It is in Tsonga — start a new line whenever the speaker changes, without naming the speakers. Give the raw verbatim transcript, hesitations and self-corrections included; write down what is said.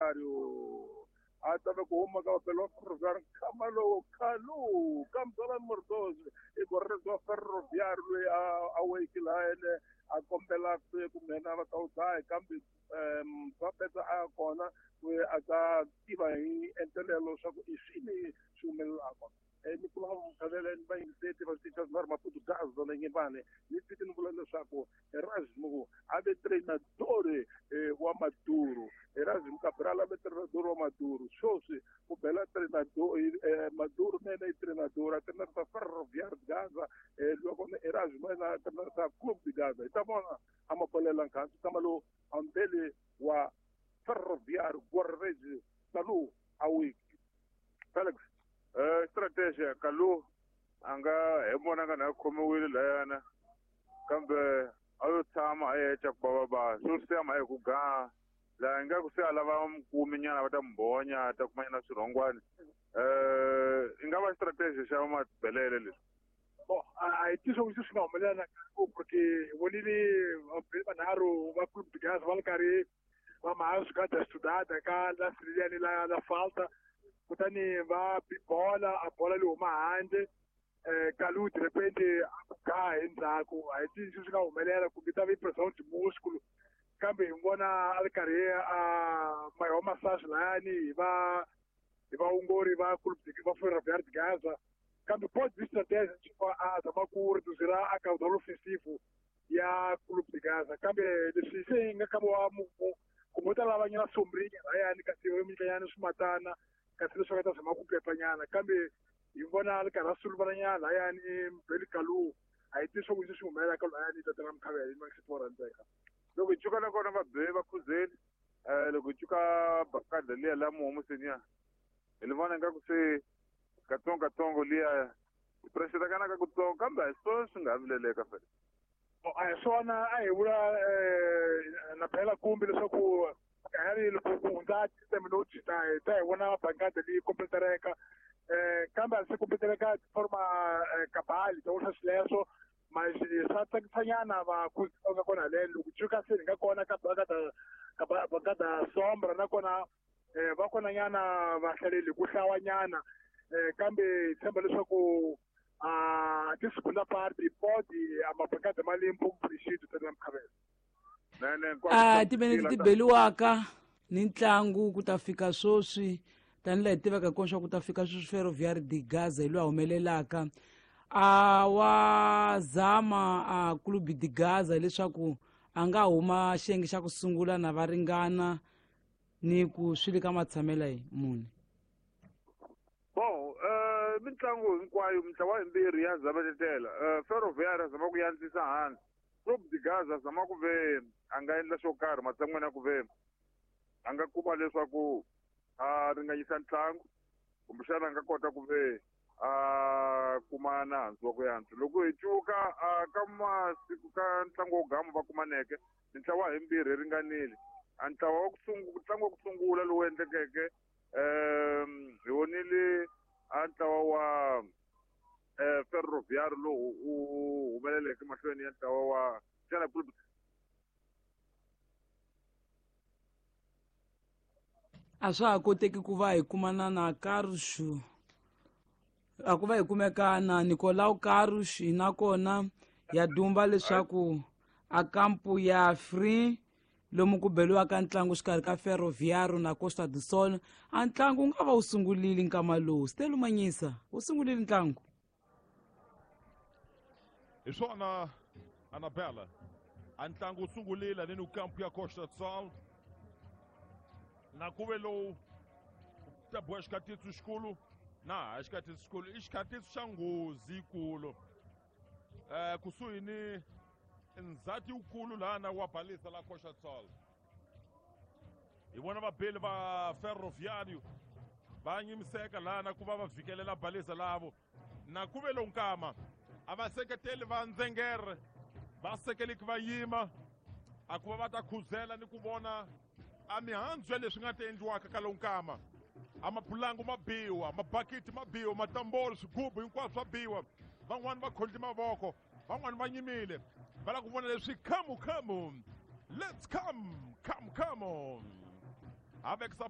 Ferroviário a ta va ku huma ka vabeli wa Ferroviário nkama lowu Kalu Kamzala Mordozi i gorerezi wa Ferroviário loyi a a weki laha ene a kombela ku nghena va ta wu dlaya kambe um va a kona loyi a ta tiva hi entelelo leswaku i swini swi humelelaka. Ni kula mukhavele ni vayingiseti va switichi swa Maputo Gaza na Nyembane ni fiki ni vula leswaku Erasmo a ve treinador wa Maduro, Erasmo Cabral a ve treinador wa Maduro. Sweswi ku bela treinador Maduro nene i treinador a treinador Ferroviário de Gaza, loko Erasmo yena a treinador Clube de Gaza. Hi ta vona a mabolela nkhansi kama lowu ambele wa Ferroviário Guararezi Kalu awiki Felix.
Eh strategy Kalu a nga hi vona nga na khomiwile layana kambe a yo tshama a yecha ku bava ba swo siya hi ku ga la nga ku se a lava mukumi nyana va ta mbonya ta kuma nyana swirhongwani. Eh i nga va strategy xa mabelele leswi.
Bon, a hi tiso swi nga humelela na porque hi vonile vanharhu va Clube de Gaza va ri karhi va maha swigada estudada ka la siriyani la la falta, kutani va bola a bola leyi huma handle. eh Kalu de repente a ga hi ndzhaku, a hi tivi swi nga humelela kumbe ta va pressão de músculo, kambe hi vona a ri karhi a mayiwa massage layani hi va hi vaongori va Clube de va Ferroviário de Gaza. Kambe pode vir estratégia a zama ku reduzir a caudal ofensivo ya Clube de Gaza, kambe leswi se hi nga kama wa kumbe u ta lava nyana sombrinha layani kasi va nyikanyana swimatana kasi leswi nga ta zama ku pepanyana, kambe hi vona a ri karhi a suluvalanyana layani Mbeli Kalu a hi tivi swa ku swi humelela ka layani tatana Mkhavele ni va rhandzeka.
Loko hi cuka na kona va be va khuzeni, eh loko hi cuka bakada liya la muhomuseni ya hi li vona ingaku se katsongo katsongo liya pressure kana ka kutsongo, kambe a hi swona swi nga vileleka fela.
A hi swona, a hi vula na phela kumbe leswaku kahari loko ku hundza ti ta hi ta hi vona bankada leyi kompletereka, eh kambe a se kompletereka forma kabali ta vula swileswo mas swa tsakisanyana va ku nga kona haleni. Loko cuka se hi nga kona ka bankada ka bankada sombra nakona va kona nyana vahlaleli ku hlawanyana, kambe hi tshemba leswaku a ti segunda parte pode a mabankada ma le um pouco preenchido tata Mkhavele.
A timinete ti beliwaka ni ntlangu ku ta fika sweswi tanihi laha hi tivaka kona swa ku ta fika sweswi Ferroviário de Gaza hi loyi a humelelaka a wa zama a Clube de Gaza leswaku a nga huma xiyenge xa ku sungula na va ringana ni ku swi le ka matshamela hi mune.
Bon, eh mintlangu hinkwayo mintlawa yimbirhi ya zametetela. Eh Ferroviário zama ku yantsisa hansi, Clube de Gaza zama ku ve a nga endla xo karhi matshan'weni ya ku ve a nga kuma leswaku a ringanyisa ntlangu kumbexana a nga kota ku ve a kuma nandzu wa ku yantswa. Loko hi cuka ka masiku ka ntlangu wo gama va kumaneke mintlawa himbirhi yi ringanile. A ntlawa wa ku sungula ntlangu wa ku sungula lowu endlekeke um hi vonile a ntlawa wa eh Ferroviário lowu u humeleleke mahlweni ya ntlawa wa xana Clube.
A swa ha koteki ku va hi kumana na Carlos, a ku va hi kumeka na Nicolau Carlos nakona ya dumba leswaku a kampu ya free lomu ku beliwaka ntlangu xikarhi ka Ferroviário na Costa do Sol. A ntlangu wu nga va wu sungulile nkama lowu Stelo Manyisa wu sungulile ntlangu.
Hi swona Anabela, a ntlangu wu sungulile ni kampu ya Costa do Sol na ku ve lowu ta boha xikatitsu xikulu na ha xikatitsu xikulu i xikatitsu xa nghozi yikulu eh kusuhi ni ndzhati wukulu lana wa balisa la Costa do Sol. Hi vona vabeli va Ferroviário va nyimiseka lana ku va va vhikelela balisa lavo na ku ve lowu nkama a va seketeli va ndzengere va sekeleki va yima a ku va va ta khuzela ni ku vona a mihandzu ya leswi nga ta endliwaka ka lowu nkama. A mapulangu ma biwa, mabakiti ma biwa, matambolo, swigubu hinkwaswo swa biwa. Van'wani va khondli mavoko, van'wani va nyimile va lava ku vona leswi come come let's come come come. Avec sa